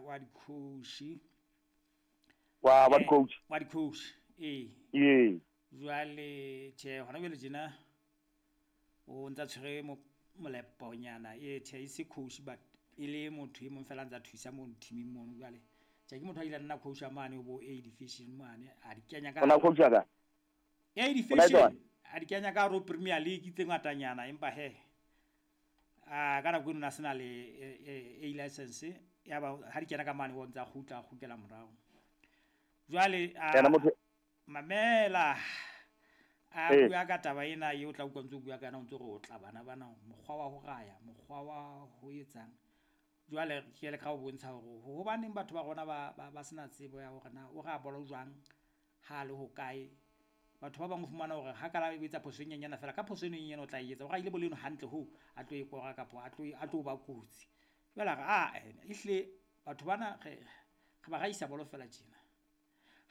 wa di-coach. Wa di-coach. Wa di-coach, ee. Ee. Jwale tjhe, hona jwale tjena o ntsa tshwere moleponyana. Ee, tjhe, e se coach, but e le motho e mong fela a ntsa thusa mono teaming mono. Jwale tjhe, ke motho a ile a nna coach a mane bo A division mane, a di kenya ka Ona coach ka? A division, a di kenya ka hare ho Premier League tse ngatanyana, empa he a ka nako eno na sena le A license, ya ba ha di kena ka mane o ntsa kgutla, kgutlela morao. Jwale a mamela a bua ka taba ena eo, tla utlwa ntse o bua ka yona, o ntse re o tla bana bana mokgwa wa ho raya, mokgwa wa ho etsang. Jwale ke le ka ho bontsha hore hobaneng batho ba rona ba sena tsebo ya hore na o raya bolo jwang, ha le hokae. Batho ba bang o fumana hore ha ka la etsa phoso e nyenyana fela, ka phoso eno e nyenyane o tla e etsa, o rahile bolo eno hantle hoo a tlo e kora kapa a tlo ba kotsi. Jwale a re a ehlile batho bana re ba rahisa bolo fela tjena,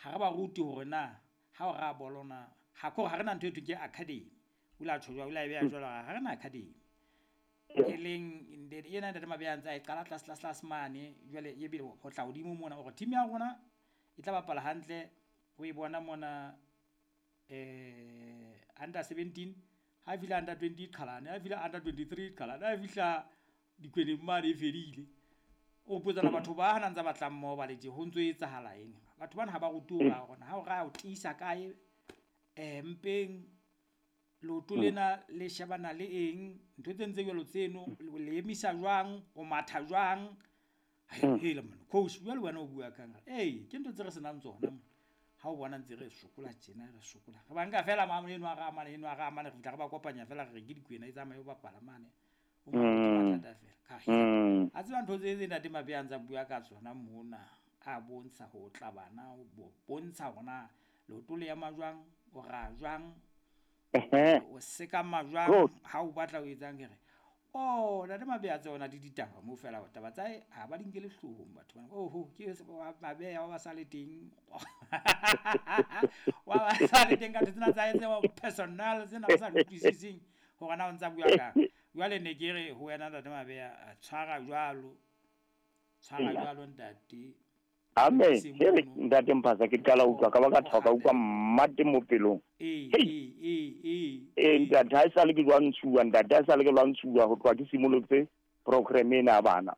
ha re ba rute hore na ha o raya bolo na, ha ko ha re na ntho e thweng ke academy. O ile a tjho jwalo, o ile a e beha jwalo, ha re na academy. E leng ena Ntate Mabeya a ntse a e qala tlase tlase tlase mane, jwale ebile ho tla hodimo mona hore team ya rona e tla bapala hantle. O e bona mona under 17, ha e fihla under 20 qhalane, ha e fihla under 23 qhalane, ha e fihla dikweneng mane e fedile. O potsana batho ba hana ntsa batlang mmoho ba le tje, ho ntso etsahala eng? Batho bana ha ba rutuwe hore ha o raya o tiisa kae, mpeng leoto lena le shebana le eng, ntho tse ntse jwalo tseno, le emisa jwang, o matha jwang. Hela monna coach, jwale wena o bua kang? Ee, ke ntho tse re senang tsona mona. Ha o bona ntse re sokola tjena, re sokola, re ba nka fela mane eno a ra mane eno a ra mane, re fihla re ba kopanya fela, re re ke dikwena e tsamaye o bapala mane. O mathata fela. Ka a tseba ntho tse Ntate Mabeya a ntsa bua ka tsona mona, a bontsha ho tla bana, o bontsha hore na leoto le ema jwang, o ra jwang, o sekama jwang ha o batla o etsang. Ke re oh, Ntate Mabeya tsona di ditaba moo fela, taba tsa hae ha ba di nkele hloohong batho bana. Oho, ke Mabeya wa ba sa le teng, wa ba sa le teng ka ntho tsena tsa hae tse personal, tsena ba sa di utlwisiseng hore na o ntsa bua kang. Jwale ne ke re ho wena Ntate Mabeya, tshwara jwalo, tshwara jwalo ntate. Amen. Ke Ntate Mphasa, ke qala utlwa ka ba ka thoka utlwa mmate mo pelong. Ee, ee ntate, ha esale ke lwantshuwa, ntate, ha esale ke lwantshuwa ho tloha ke simolotse program ena ya bana.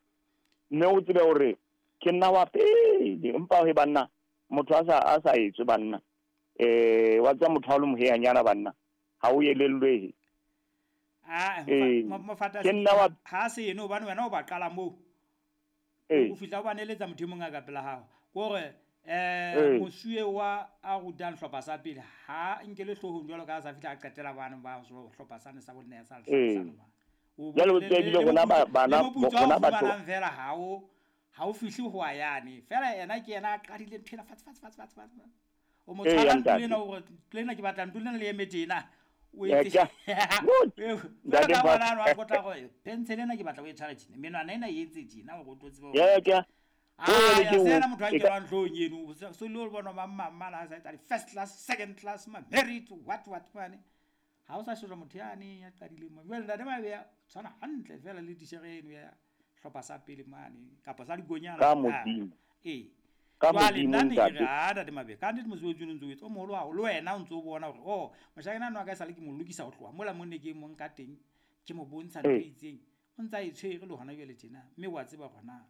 Mme o tsebe hore ke nna wa pele, empa he banna, motho a sa etswe banna. Wa tseba motho ha o le moheyanyana banna, ha o elellwehe. Ah, mofata ha se eno hobane wena o ba qala moo. O fihla o ba neletsa motho e mong a ka pela hao. Ke hore mosuwe wa a rutang hlopha sa pele ha nkele hloohong jwalo ka ha sa fihla a qetela bana ba hlopha sane sa bonne sa hlano. Jwale o tsebile rona bana rona batho fela ha o fihle ho a yane. Fela yena ke yena a qadile ntho ena fatshe fatshe fatshe fatshe. O mo tshwara ntho ena hore ntho ena ke batla ntho ena le eme tjena. O etse ntate bana wa kotla go pencil ena ke batla o e tshware tjena, menwana ena e etse tjena hore o tlo tseba. Sena motho a nkelwang hloohong eno, so le bona mamma mama sa etsa first class, second class, ma merit, what mane. Ha o sa shejwa motho yane ya qadileng mo. Jwale Ntate Mabeya tshwana hantle fela le tishere eno ya hlopha sa pele mane kapa sa dikonyana. Ka Modimo. Ee. Ka Modimo ntate. Ha Ntate Mabeya, ka nnete mosebetsi o ntse o etsa o moholo haholo, le wena o ntse o bona hore oh, moshanyana wa ka esale ke mo lokisa ho tloha mola mo ne ke mo nka teng, ke mo bontsha ntho e itseng, o ntsa e tshwere le hona jwale tjena, mme wa tseba hore na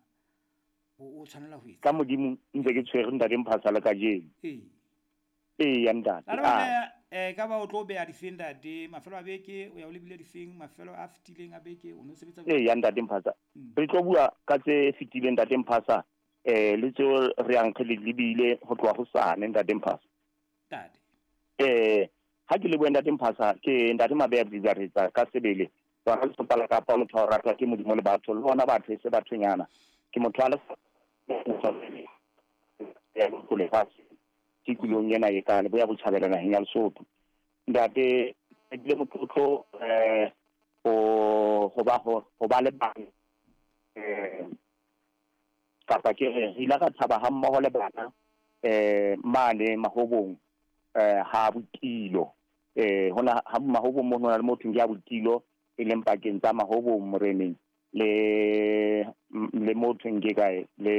o tshwanela ho etsa. Ka Modimo ntse ke tshwere Ntate Mphasa le kajeno. Ee. Ee ya ntate. Ka ba o tlo beha difeng ntate, mafelo a beke o ya o lebile difeng, mafelo a fetileng a beke o no sebetsa. Ee ya ntate Mphasa. Re tlo bua ka tse fetileng Ntate Mphasa, le tseo re yang re lebile ho tloha hosane Ntate Mphasa. Ntate. Ha ke le bua Ntate Mphasa, ke Ntate Mabeya Bizaretsa ka sebele. Tsona le sopala kapa motho a ratwa ke Modimo le batho, le bona batho e se bathonyana. Ke motho a le ya lefatshe tikolong ena e ka Leboya Botjhabela naheng ya Lesotho. Ntate, ke bile motlotlo ho ba le bana, kapa ke re ile ra thaba ha mmoho le bana mane Mahobong, ha Botilo. Hona ha Mahobong mo hona le motho ke ha Botilo, e leng pakeng tsa Mahobong Moreneng le motho ke kae le